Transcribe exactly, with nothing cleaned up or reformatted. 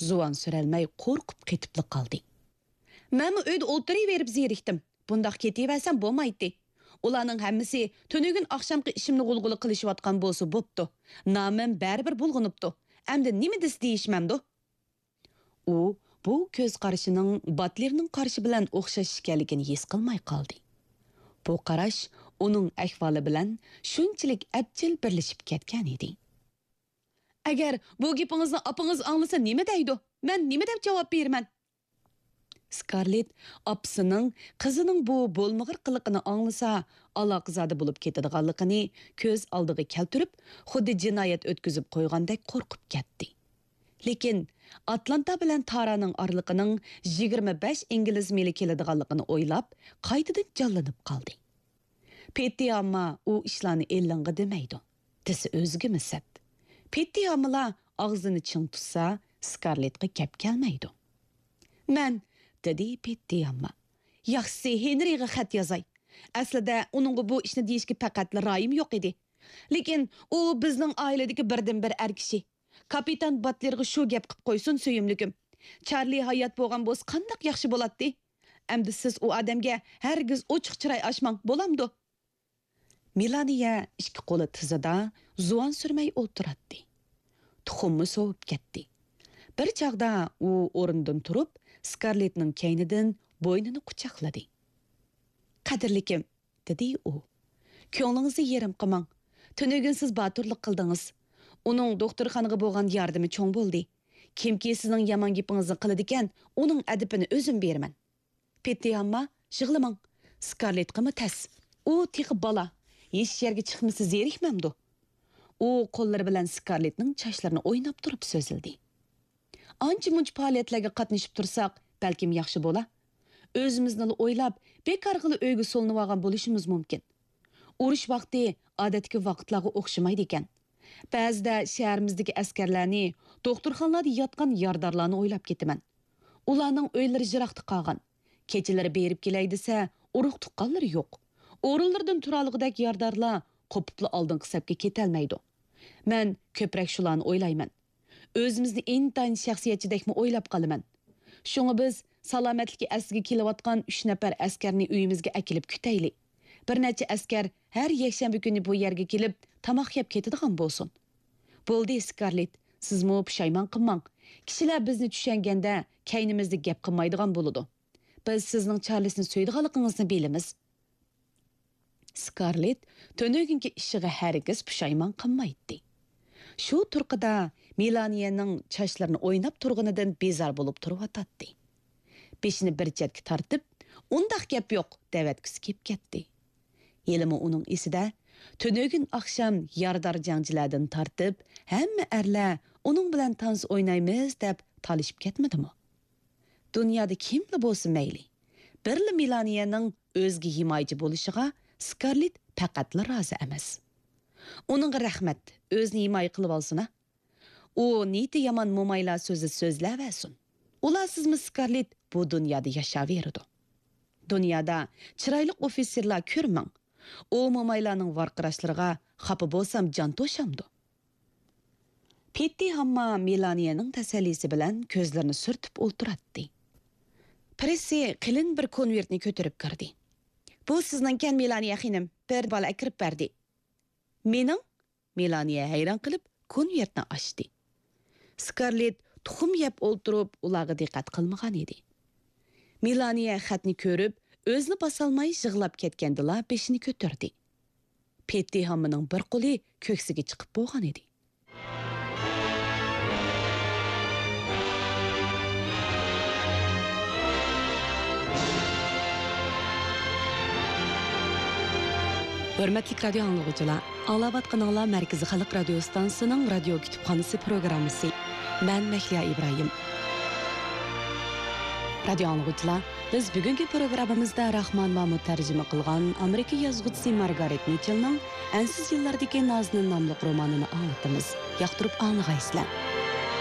زۇۋان سۈرەلمەي قورقۇپ قېتىپلا قالدى. مەنمۇ ئۆيدە ئولتۇرۇۋېرىپ زېرىكتىم. بۇنداق كېتىۋەرسەم بولمايتتى. ئۇلارنىڭ ھەممىسى تۈنۈگۈن ئاخشامقى ئىشىمنى غۇلغۇلا قىلىشىۋاتقان بولسا بوپتۇ. نامىم بەرىبىر بۇلغىنىپتۇ. ئەمدى نېمە دېسە دېيىشمەمدۇ؟ ئۇ بۇ كۆز قارىشىنىڭ باتلېرنىڭ قارىشى بىلەن ئوخشاش ئىكەنلىكىنى ھېس قىلماي قالدى. بۇ قاراش ئۇنىڭ ئەھۋالى بىلەن شۇنچىلىك ئەپچىل بىرلىشىپ كەتكەن ئىدى. ئەگەر بۇ گېپىڭىزنى ئاپىڭىز ئاڭلىسا نېمە دەيدۇ؟ مەن نېمە دەپ جاۋاب بېرىمەن؟ سكارلېت ئاپىسىنىڭ قىزىنىڭ بۇ بولمىغۇر قىلىقىنى ئاڭلىسا، ئالاقىزادە بولۇپ كېتىدىغانلىقىنى كۆز ئالدىغا كەلتۈرۈپ، خۇددى جىنايەت ئۆتكۈزۈپ قويغاندەك قورقۇپ كەتتى. لېكىن ئاتلانتا بىلەن تارانىڭ ئارىلىقىنىڭ يىگىرمە بەش ئىنگلىز مىلى كېلىدىغانلىقىنى ئويلاپ، قايتىدىن جانلىنىپ قالدى. پېتتى ئامما ئۇ ئىشلارنى ئېلىڭغا دېمەيدۇ، دېسە ئۆزىگىمۇ سەت. پېتتى ئاممىلار ئاغزىنى چىڭ تۇتسا، سكارلېتقا گەپ كەلمەيدۇ. مەن، دېدى پېتتى ئامما. ياخشىسى، ھېنرىغا خەت يازاي. ئەسلىدە ئۇنىڭغا بۇ ئىشنى دېيىشكە پەقەتلا رايىم يوق ئىدى. لېكىن ئۇ بىزنىڭ ئائىلىدىكى بىردىنبىر ئەر كىشى. كاپىتان باتلېرغا شۇ گەپ قىپ قويسۇن، سۆيۈملۈكۈم. چارلى ھايات بولغان بولسا قانداق ياخشى بولاتتى. ئەمدى سىز ئۇ ئادەمگە ھەرگىز ئوچۇق چىراي ئاچماڭ، بولامدۇ؟ مېلانىيە ئىككى قولى تىزىدا زۇۋان سۈرمەي ئولتۇراتتى. تۇخۇممۇ سوۋۇپ كەتتى. بىر چاغدا ئۇ ئورنىدىن تۇرۇپ، سكارلېتنىڭ كەينىدىن بوينىنى قۇچاقلىدى. قەدىرلىكىم، دېدى ئۇ. كۆڭلىڭىزنى يېرىم قىلماڭ. تۈنۈگۈن سىز باتۇرلۇق قىلدىڭىز. ئۇنىڭ دوختۇرخانىغا بولغان ياردىمى چوڭ بولدى. كىمكى سىزنىڭ يامان گېپىڭىزنى قىلىدىكەن، ئۇنىڭ ئەدىپىنى ئۆزۈم بېرىمەن. پېتتى ئامما، يىغلىماڭ. سكارلېتقىمۇ تەس. ئۇ تېخى بالا. ھېچ يەرگە چىقمىسا زېرىكمەمدۇ؟ ئۇ قوللىرى بىلەن سكارلېتنىڭ چاچلىرىنى ئويناپ تۇرۇپ سۆزلىدى. ئانچە-مۇنچە پائالىيەتلەرگە قاتنىشىپ تۇرساق، بەلكىم ياخشى بولا. ئۆزىمىزنىلا ئويلاپ، بىكارغىلا ئۆيگە سولىنىۋالغان بولۇشىمىز مۇمكىن. ئۇرۇش ۋاقتى ئادەتتىكى ۋاقىتلارغا ئوخشىمايدىكەن. بەزىدە شەھىرىمىزدىكى ئەسكەرلەرنى، دوختۇرخانىلاردا ياتقان يارىدارلارنى ئويلاپ كېتىمەن. ئۇلارنىڭ ئۆيلىرى يىراقتا قالغان. كېچىلىرى بېرىپ كېلەي دېسە، ئۇرۇق-تۇغقانلىرى يوق. ئورۇنلىرىدىن تۇرالىغۇدەك يارىدارلار قوپۇپلا ئالدىنقى سەپكە كېتەلمەيدۇ. مەن كۆپرەك شۇلارنى ئويلايمەن. ئۆزىمىزنى ئىنتايىن شەخسىيەتچىدەكمۇ ئويلاپ قالىمەن. شۇڭا بىز سالامەتلىكى ئەسلىگە كېلىۋاتقان ئۈچ نەپەر ئەسكەرنى ئۆيىمىزگە ئەكېلىپ كۈتەيلى. بىر نەچچە ئەسكەر ھەر يەكشەنبە كۈنى بۇ يەرگە كېلىپ، تاماق يەپ كېتىدىغان بولسۇن. بولدى، سكارلېت، سىزمۇ پۇشايمان قىلماڭ. كىشىلەر بىزنى چۈشەنگەندە، كەينىمىزدە گەپ قىلمايدىغان بولىدۇ. بىز سىزنىڭ چارلىسنى سۆيىدىغانلىقىڭىزنى بىلىمىز. سكارلېت تۈنۈگۈنكى ئىشىغا ھەرگىز پۇشايمان قىلمايتتى. شۇ تۇرقىدا مېلانىيەنىڭ چاچلىرىنى ئويناپ تۇرغىنىدىن بىزار بولۇپ تۇرۇۋاتاتتى. بېشىنى بىر چەتكە تارتىپ، «ئۇنداق گەپ يوق» دەۋەتكۈسى كېلىپ كەتتى. ھېلىمۇ ئۇنىڭ ئېسىدە تۈنۈگۈن ئاخشام يارىدار جەڭچىلەردىن تارتىپ، ھەممە ئەرلەر ئۇنىڭ بىلەن تانسا ئوينايمىز دەپ تالىشىپ كەتمىدىمۇ؟ دۇنيادا كىملا بولسا مەيلى، بىرلا مېلانىيەنىڭ ئۆزىگە ھىمايىچى بولۇشىغا سكارلېت پەقەتلا رازى ئەمەس. ئۇنىڭغا رەھمەت، ئۆزىنى ھىمايە قىلىۋالسۇن-ھە. ئۇ نىيىتى يامان مومايلار سۆزى سۆزلەۋەرسۇن. ئۇلارسىزمۇ سكارلېت بۇ دۇنيادا ياشاۋېرىدۇ. دۇنيادا چىرايلىق ئوفىتسېرلار كۆرمەڭ. ئۇ مومايلارنىڭ ۋارقىراشلىرىغا خاپا بولسام جان توشامدۇ؟ پېتتى ھامما مېلانىيەنىڭ تەسەللىسى بىلەن كۆزلىرىنى سۈرتۈپ ئولتۇراتتى. پرېسسى قېلىن بىر كونۋېرتنى كۆتۈرۈپ كىردى. «بۇ سىزنىڭكەن، مېلانىيە خېنىم، بىر بالا ئەكىرىپ بەردى.» «مېنىڭ؟» مېلانىيە ھەيران قېلىپ كونۋېرتنى ئاچتى. سكارلېت تۇخۇم يەپ ئولتۇرۇپ ئۇلارغا دىققەت قىلمىغان ئىدى. مېلانىيە خەتنى كۆرۈپ، ئۆزىنى باسالماي يىغلاپ كەتكەندىلا بېشىنى كۆتۈردى. پېتتى ھاممىنىڭ بىر قولى كۆكسىگە چىقىپ بولغان ئىدى. ھۆرمەتلىك رادىيو ئاڭلىغۇچىلار، ئاڭلاۋاتقىنىڭلار مەركىزىي خەلق رادىيو ئىستانسىسىنىڭ رادىيو كۇتۇپخانىسى پروگراممىسى. مەن مەھلىيا ئىبراھىم. رادىيو ئاڭلىغۇچىلار، بىز بۈگۈنكى پروگراممىمىزدا راخمان مامۇت تەرجىمە قىلغان ئامېرىكا يازغۇچىسى مارگارېت مىچېلنىڭ ئەنسىز يىللاردىكى نازنىن ناملىق رومانىنى ئاڭلىتىمىز. ياقتۇرۇپ ئاڭلىغايسىلەر.